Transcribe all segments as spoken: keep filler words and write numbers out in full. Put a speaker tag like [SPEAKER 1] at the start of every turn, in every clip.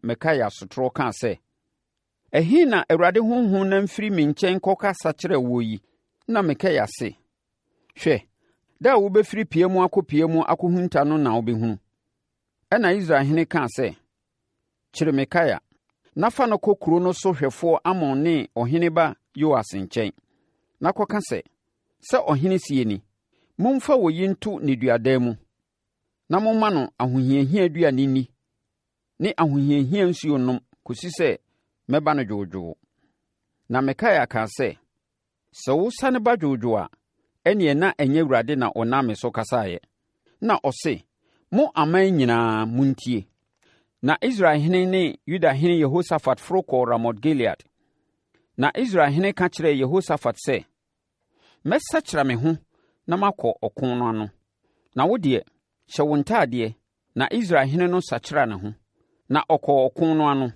[SPEAKER 1] Mikaia sotorɔ kaa sɛ, Ɛhe na Awurade honhom nam firi me nkyɛn kɔkasa kyerɛɛ woɔ yi? Na Mikaia se, Hwɛ, da a wobɛfiri pia mu akɔ pia mu akɔhunta no na wobɛhunu. Ɛnna Israelhene kaa sɛ, Kyere Mikaia, na fa no kɔ kuro no so hwɛfoɔ Amon ne ɔhene ba Yoas nkyɛn, na kɔka sɛ, 'Sɛ ɔhene seɛ nie: Momfa oyi nto nneduadan mu, na momma no ahohiahia aduane nni ne ahohiahia nsuo nnom kɔsi sɛ mɛba no dwoodwoo.' " Na Mikaia kaa sɛ, “Sɛ wosane ba dwoodwoo a, ɛnneɛ na ɛnyɛ Awurade na ɔnam me so kasaeɛ.” Na ɔse, “Mo aman nyinaa, montie!” Na Israelhene ne Yudahene Yehosafat foro kɔɔ Ramot-Gilead. Na Israelhene ka kyerɛɛ Yehosafat sɛ, “Mɛsakyera me ho na makɔ ɔko no ano. Na wo deɛ, hyɛ wo ntadeɛ.” Na Israelhene no sakyeraa ne ho, na ɔkɔɔ ɔko no ano.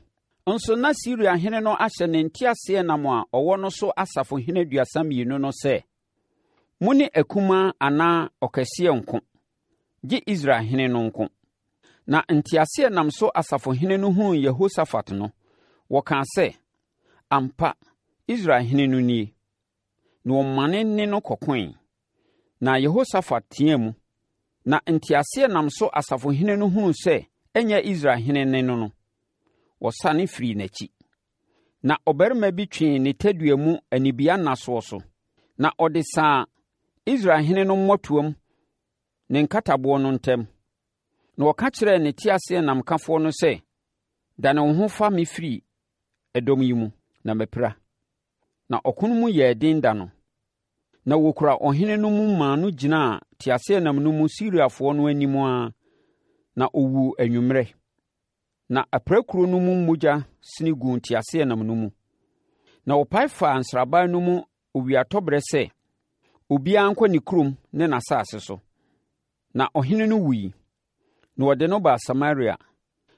[SPEAKER 1] Nso na Siriahene no ahyɛ ne nteaseɛnam a ɔwɔ no so asafohene aduasa mmienu no sɛ, “Mo ne akumaa anaa ɔkɛseɛ nnko, gye Israelhene no nko.” Na nteaseɛnam so asafohene no hunuu Yehosafat no, wɔkaa sɛ, “Ampa, Israelhene no nie!” Na wɔmane ne no kɔkoeɛ. Na Yehosafat teaam, na nteaseɛnam so asafohene no hunuu sɛ ɛnyɛ Israelhene ne no no, wɔsane firii n'akyi. Na ɔbarima bi twee ne tadua mu anibiannasoɔ so, na ɔde saa Israelhene no mmɔtoam ne nkataboɔ no ntam. Na ɔka kyerɛɛ ne teaseɛnamkafoɔ no sɛ, “Dane wo ho fa me firi ɛdɔm yi mu, na mapira.” Na ɔko no mu yɛɛ den da no. Na wɔkuraa ɔhene no mu maa no gyinaa teaseɛnam no mu Siriafoɔ no anim ara, na ɔwuu anwummerɛ. Na apirakuro no mu mogya sene guu teaseɛnam no mu. Na wɔpae faa nsraban no mu owiatɔberɛ sɛ, obiara nkɔ ne kurom ne n'asase so. Na ɔhene no wuiɛ, na wɔde no baa Samaria,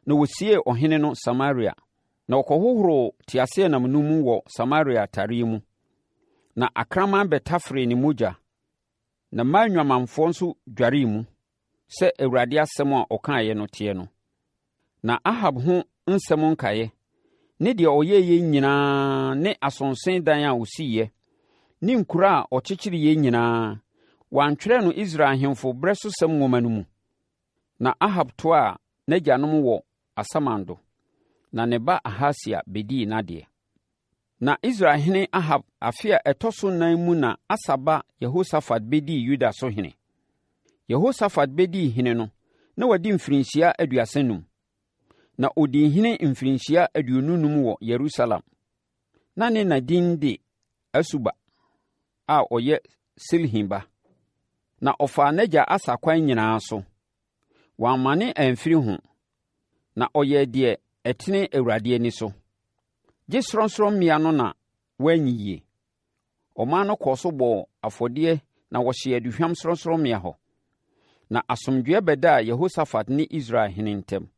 [SPEAKER 1] na wɔsiee ɔhene no Samaria. Na wɔkɔhohoroo teaseɛnam no mu wɔ Samaria tareɛ mu. Na akraman bɛtaferee ne mogya, na mmaa nnwamanfoɔ nso dwaree mu, sɛ Awurade asɛm a ɔkaeɛ no teɛ no. Na Ahab ho nsɛm nkaeɛ, ne deɛ ɔyɛeɛ nyinaa ne asonse dan a ɔsiiɛ, ne nkuro a ɔkyekyereeɛ nyinaa, wɔantwerɛ no Israel ahemfo berɛsosɛm nwoma no mu? Na Ahab toaa n'agyanom wɔ asamando, na ne ba Ahasia bɛdii n'adeɛ. Na Israelhene Ahab afe a ɛtɔ so nnan mu na Asa ba Yehosafat bɛdii Yuda so hene. Yehosafat bɛdii hene no, na wadi mfirinhyia aduasa nnum, na ɔdii hene mfirinhyia aduonu nnum wɔ Yerusalem. Na ne na din de Asuba a ɔyɛ Silhi ba. Na ɔfaa n'agya Asa akwan nyinaa so. Wammane amfiri ho, na ɔyɛɛ deɛ ɛtene Awurade ani so. Gye sorɔnsorɔmmea no na wanyiyie. Ɔman no kɔɔ so bɔɔ afɔdeɛ na wɔhyee aduhwam sorɔnsorɔmmea hɔ. Na asomdwoeɛ bɛdaa Yehosafat ne Israel hene ntam.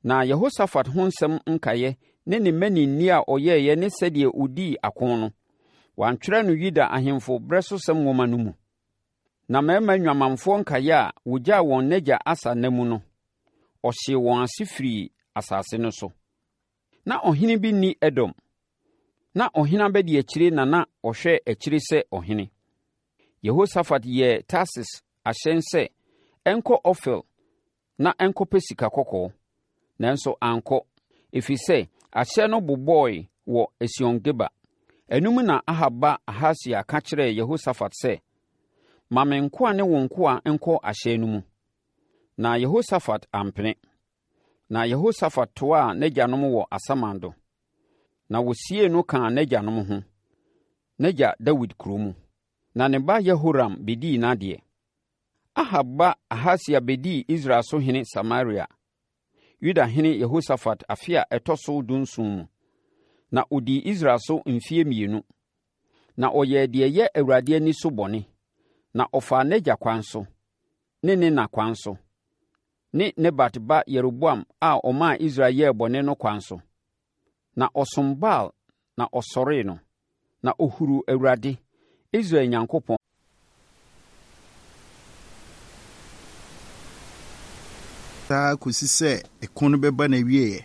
[SPEAKER 1] Na Yehosafat ho nsɛm nkaeɛ ne ne mmaninneɛ a ɔyɛeɛ ne sɛdeɛ ɔdii ako no, wɔantwerɛ no Yuda ahemfo berɛsosɛm nwoma no mu. Na mmarima nnwamanfoɔ nkaeɛ a wɔgyaa wɔn n'agya Asa nna mu no, ɔhyee wɔn ase firii asase no so. Na ɔhene bi nni Edom. Na ɔhene abadiakyire na na ɔhwɛ akyire sɛ ɔhene. Yehosafat yɛɛ Tarsis ahyɛn sɛ ɛnkɔ Ofir na ɛnkɔpɛ sika kɔkɔɔ, nanso ankɔ, ɛfiri sɛ ahyɛn no bobɔe wɔ Esion-Geber. Ɛno mu na Ahab ba Ahasia ka kyerɛɛ Yehosafat sɛ, Ma me nkoa ne wo nkoa nkɔ ahyɛn no mu. Na Yehosafat ampene. Na Yehosafat toaa n'agyanom wɔ asamando, na wɔsiee no kaa n'agyanom ho, n'agya Dawid kuro mu. Na ne ba Yehoram bɛdii n'adeɛ. Ahab ba Ahasia bɛdii Israel so hene Samaria, Yudahene Yehosafat afe a ɛtɔ so dunson mu, na ɔdii Israel so mfeɛ mmienu. Na ɔyɛɛ deɛ ɛyɛ Awurade ani so bɔne, na ɔfaa n'agya kwan so, ne ne na kwan so, ne Nebat ba Yeroboam a ɔmaa Israel yɛɛ bɔne no kwan so. Na ɔsom Baal na ɔsɔree no, na ɔhuruu Awurade, Israel Nyankopɔn
[SPEAKER 2] Saa ara kɔsi sɛ ɛko no bɛba n'awieeɛ.